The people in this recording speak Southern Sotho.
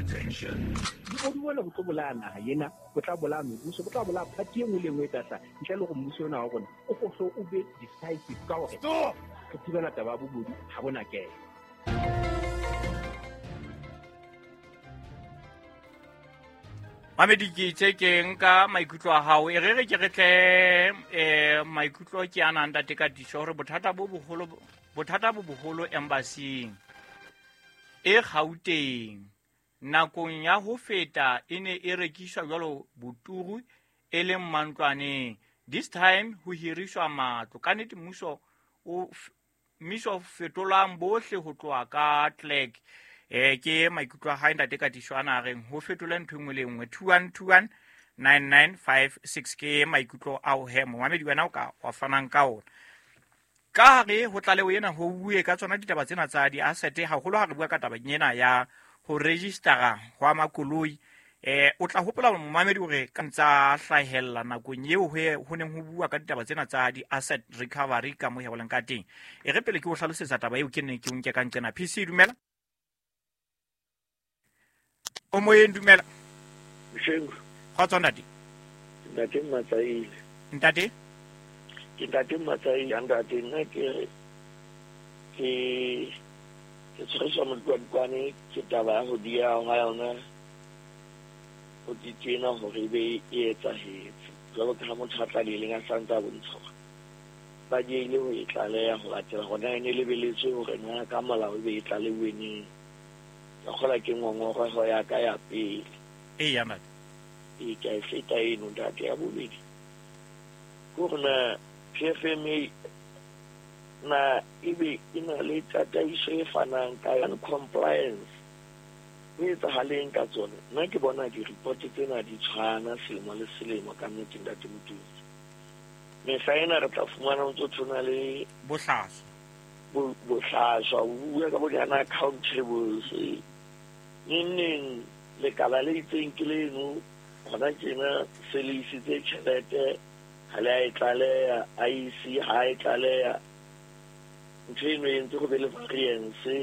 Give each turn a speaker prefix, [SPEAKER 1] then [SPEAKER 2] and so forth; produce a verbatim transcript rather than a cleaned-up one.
[SPEAKER 1] Attention.
[SPEAKER 2] Bobodu bona bo tlo bolaya naha ena, bo tla bolaya mebuso, bo tla bolaya party e nngwe le e nngwe e tla hlaha. Ntle le hore mmuso ona wa rona o hlo o be decisive ka hore re thibela taba ya bobodu ha bona kena.
[SPEAKER 3] Mamedi ke itse ke nka maikutlo a hao e re re ke re tle eh maikutlo ke ana ntate Katiso hore bothata bo boholo bothata bo boholo embassy e Gauteng nakong ya ho feta e ne e rekiswa jwalo boturu e leng mantlwaneng. This time ho hiriswa matlo. Ka nnete mmuso o mmuso fetolang bohle ho tloha ka clerk. Eh ke maikutlo a hae ntate Katiso ana reng ho fetole ntho e nngwe le nngwe. Two one two one nine nine five six ke maikutlo ao he momamedi wena o ka wa fanang ka ona. Ka hare ho tlaleho ena ho bue ka tsona ditaba tsena tsa di-asset haholo ha re bua ka taba ena ya ho registera hwa makoloi. Eh o tla hopola momamedi hore ka ntsa hlahella nakong eo ho neng ho bua ka ditaba tsena tsa di-asset recovery ka mo heboleng ka teng. E re pele ke o hlalosetsa taba eo ke neng ke o nke ka nqena. P C dumela. O moyeng dumela.
[SPEAKER 4] Mshengu.
[SPEAKER 3] Kgotso ntate.
[SPEAKER 4] Ntate Matsaile.
[SPEAKER 3] Ntate?
[SPEAKER 4] Ke ntate Matsaile, ntate nna ke ke ke tshwariswa modikwadikwane ke taba ya ho dieha ha yona ho tjena hore e be e etsahetse. Jwalo ka ha motho a tlalehileng a sa ntse a bontsha hore ba diehile ho e tlaleha ho latela hore na e ne lebeletswe hore na ka molao e be e tlalehuwe neng. Ka kgola ke ngongoreho ya ka ya pele.
[SPEAKER 3] Eya ntate.
[SPEAKER 4] E ka e feta eno ntate. Ya bobedi ke hore na P F M A na ebe e na le tataiso e fanang ka yona compliance ho etsahaleng ka tsona. Nna ke bona di-report tsena di tshwana selemo le selemo ka nnete ntate Motutsi. Mehla ena re tla fumana ho ntso tshwana le
[SPEAKER 3] bohlaswa.
[SPEAKER 4] Bohlaswa, o bua ka bo di accountables. Neng neng lekala le itseng ke leno hona tjena se le isitse tjhelete ha le a e tlaleha, I E C ha e tlaleha. Ntho eno e entse ho be le variance.